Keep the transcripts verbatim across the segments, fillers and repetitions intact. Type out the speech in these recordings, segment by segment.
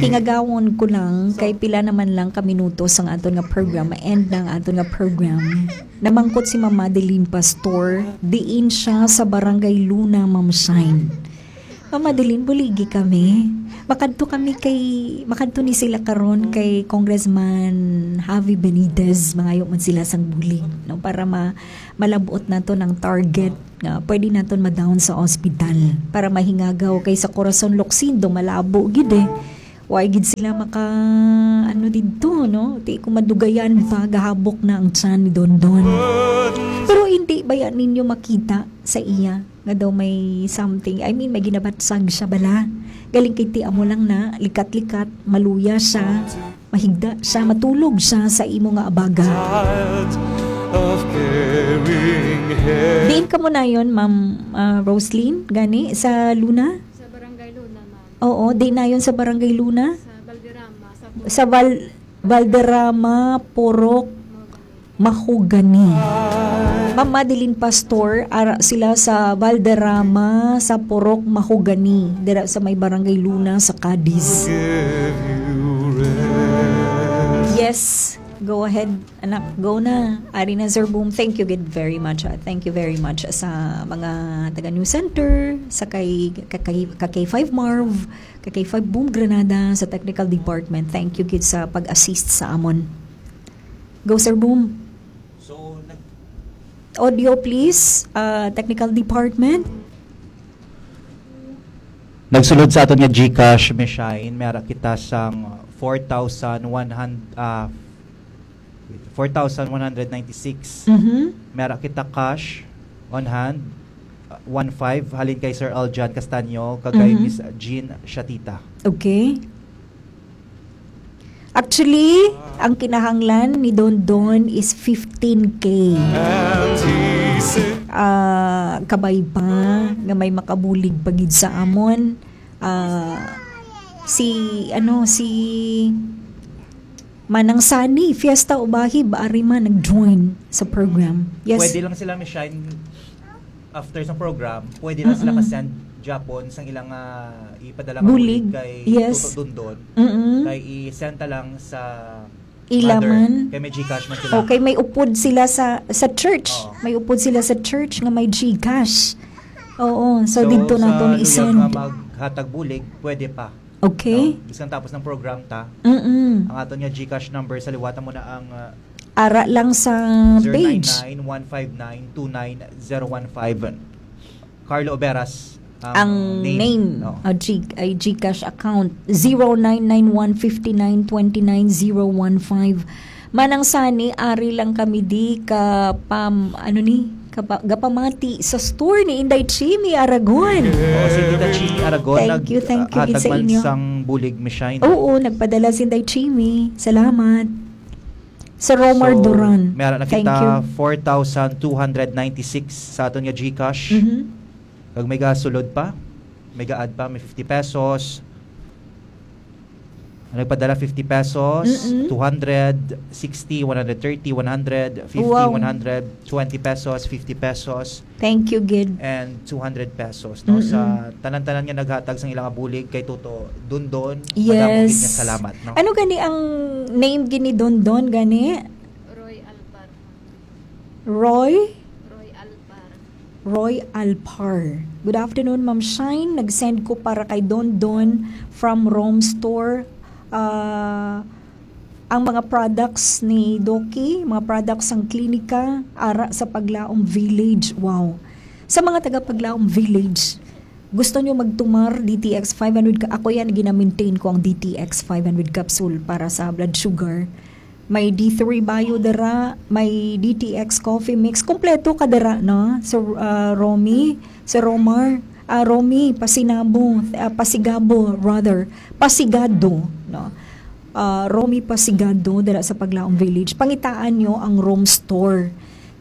Hingagawon ko lang kay pila naman lang ka minuto sa aton nga program, ma-end na ang aton nga program. Namangkot si Ma'am Madeline Pastor, diin siya sa Barangay Luna, Ma'am Shine. Ma'am Madeline, buligi kami. Makadto kami kay, makadto ni sila karon kay Congressman Javi Benitez. Mangayo man sila sang bulig, no, para ma-, malabot nato ng target nga pwede naton ma-down sa ospital para mahingagaw, kay sa Corazon Locsin do malabo gid eh. Wa gid sila maka, ano, didto, no? Di ko madugayan pa, gahabok na ang tiyan ni Dondon. Pero hindi baya ninyo makita sa iya nga daw may something? I mean, may ginabatsag siya bala. Galing kay ti amo lang na, likat-likat, maluya siya, mahigda siya, matulog siya sa imo nga abaga. Diin ka mo nayon, Ma'am, ah, Roslyn, gani, sa Luna? Sa Barangay Luna, ma'am. Oo, di nayon sa Barangay Luna? Sa Valderrama, sa Sa Val-, Valderrama, Purok, Mahogany. Ma'am Madeline Pastor, ara sila sa Valderrama, sa Purok Mahogany, dira sa may Barangay Luna, sa Cadiz. Yes, go ahead, anak, go na. Ari na, Sir Boom, thank you gid very much, ah. Thank you very much sa mga taga News Center, sa kay, kay, kay K five Marv, kay K five Boom Granada, sa technical department. Thank you gid sa pag-assist sa amon. Go, Sir Boom. So, nag- Audio, please. Uh, technical department. Nagsulod sa aton nga GCash, Miss Shine, may ara kita sang four thousand one hundred, ah, four thousand one hundred ninety-six. Mhm. May ara kita cash on hand, ah, one five, halin kay Sir Aljan Castaño, kag kay Mhm. Miss Jean Shatita. Okay. Actually, ang kinahanglan ni Don Don is fifteen K. Ah, kabay pa nga may makabulig pa gid sa amon. Ah, si, ano, si Manang Sani, Fiesta Ubahib, ari man nag-join sa program. Yes. Pwede lang sila, Miss Shine, after sa program, pwede lang sila Mm-mm. ka-send Japon sang ilang, ah, ipadala nga Bulig. Bulig kay Yes. Toto Dondon. Mm-mm. Kay i-send ta lang sa Ila mother. Man. Kay may GCash man sila. Okay, may upod sila sa, sa church. Oo. May upod sila sa church nga may GCash. Oo, so So, didto sa naton luya i-send. Nga maghatag bulig, pwede pa. Okay. No? Bisan tapos ng program ta, Mm-mm. ang aton nga GCash number, sa liwata mo na ang, uh, Ara lang sa page. Zero nine nine one five nine two nine zero one five. Carlo Oberas ang Ang name. Name. No? A G-, ay GCash account, zero nine nine one fifty nine twenty nine zero one five. Manang Sani, ari lang kami di ka pam-, ano ni? Kapa-, gapamati sa store ni Inday Chimi Aragon. Oh, si Tita Chi Aragon, Thank you, thank you, naghatag gid sa man inyo. Sang bulig, Miss Shine. Oo, nagpadala si Inday Chimi. Salamat. Sa Romar So, Duran. May ara na Thank kita you. Four thousand two hundred ninety-six sa aton nga GCash. Mhm. Kag may gasulod pa, may ga-add pa, may fifty pesos. Ang nagpadala, fifty pesos, Mm-mm. two hundred, sixty, one hundred thirty, one hundred, fifty, Wow. One hundred, twenty pesos, fifty pesos, Thank you, gid. And two hundred pesos, no? Mm-mm. Sa tanan-tanan nga naghatag sang ilang bulig kay Toto Dondon, madamo gid nga Yes. salamat, no? Ano gani ang name gini Dondon gani? Roy Alpar. Roy? Roy Alpar. Roy Alpar. Good afternoon, Ma'am Shine. Nag-send ko para kay Dondon from Rome Store. Ah, ang mga products ni Doki, mga products sang klinika, ara sa Paglaom Village. Wow. Sa mga taga Paglaom Village, gusto nyo magtumar D T X five hundred ka-, ako yan, gina-maintain ko ang D T X five hundred capsule para sa blood sugar. May D three Bio dira, may D T X Coffee Mix. Kompleto ka dira, no? Sir, ah, Romy, Sir Romar, ah, Romy, Pasinabo, ah, Pasigabo, rather, Pasigado, no? Ah, Romy Pasigado, dira sa Paglaom Village. Pangitaan nyo ang Rome Store.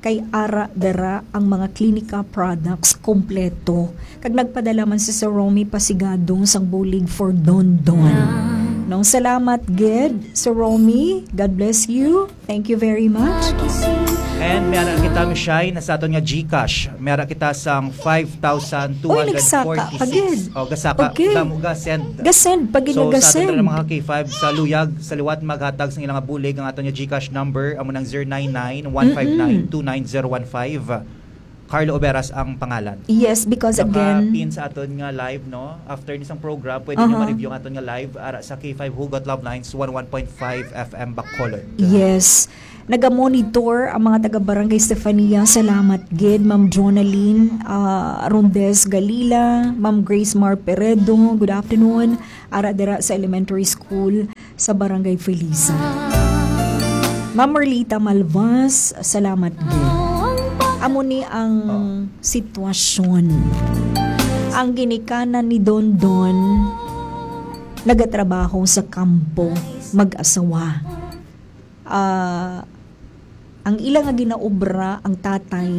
Kay ara dira ang mga klinika products kompleto. Kag nagpadala man si Sir Romy Pasigado sang bulig for Don Don. No, salamat gid, Sir Romy. God bless you. Thank you very much. And may ara kita, Miss Shai, na sa aton nga GCash. May ara kita sang five thousand two hundred forty-six. Uy, nagsaka pa gid. O, gasaka, Okay. Damo ga-send. Ga-send, pag So, sa aton ginagasend. na mga K five, sa luyag, sa liwat maghatag sang ilang bulig, ang aton nga GCash number, amo nang zero nine nine, one five nine, two nine zero one five. Carlo Oberas ang pangalan. Yes, because again Naka-pin sa aton nga live, no? After ni sang program, pwede nyo Aha. ma-review ang aton nga live ara sa K five Hugot Love Lines, one one point five F M Bacolod. Yes. Naga-monitor ang mga taga Barangay Stefania. Salamat gid, Ma'am Jonalyn, ah, Rondes Galila, Ma'am Grace Mar Peredo. Good afternoon. Ara dira sa elementary school sa Barangay Felisa. Ma'am Merlita Malvas, salamat gid. Amo ni ang Oh. sitwasyon. Ang ginikanan ni Dondon, nagatrabaho sa kampo, mag-asawa. Ah, ang ila nga ginaobra, ang tatay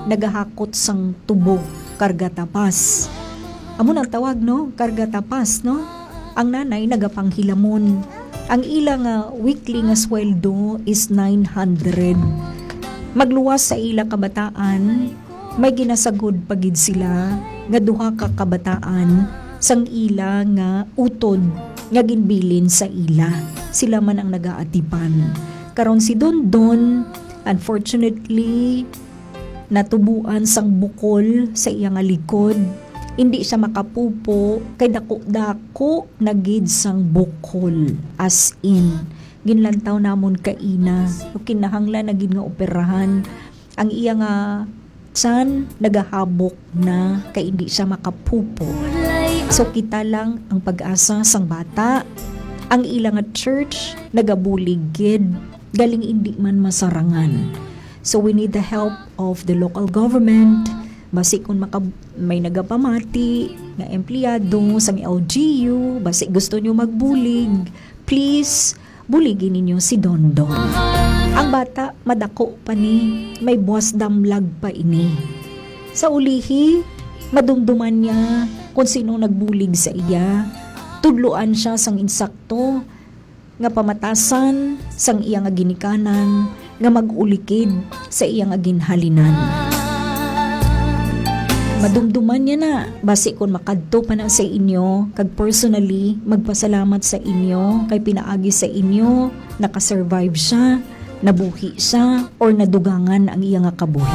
nagahakot sang tubo, karga tapas. Amo nang tawag, no? Karga tapas, no? Ang nanay nagapanghilamon. Ang ila nga weekly nga sweldo is nine hundred. Magluwas sa ila kabataan, may ginasagod pa gid sila nga duha ka kabataan sang ila nga utod nga ginbilin sa ila. Sila man ang nagaatipan. Karon si Dondon, unfortunately, natubuan sang bukol sa iya nga likod. Hindi siya makapupo kay dako-dako na gid sang bukol. As in, ginlantaw namon kaina. Kinahanglan na gid nga operahan. Ang iya nga tiyan nagahabok na kay hindi siya makapupo. So, kita lang ang pag-asa sang bata. Ang ila nga church nagabulig gid, galing hindi man masarangan. So, we need the help of the local government. Basi kung maka-, may nagapamati nga empleyado sang L G U, basi gusto nyo magbulig, please, buligi ninyo si Dondon. Ang bata, madako pa ni, may buwas damlag pa ini. Sa ulihi, madumduman niya kung sino nagbulig sa iya. Tudloan siya sang insakto nga pamatasan sang iya nga ginikanan nga mag-ulikid sa iya nga ginhalinan. Madumduman niya na, basi kon makadto pa na sa inyo, kag personally magpasalamat sa inyo, kay pinaagi sa inyo, nakasurvive siya, nabuhi siya, or nadugangan ang iya nga kabuhi.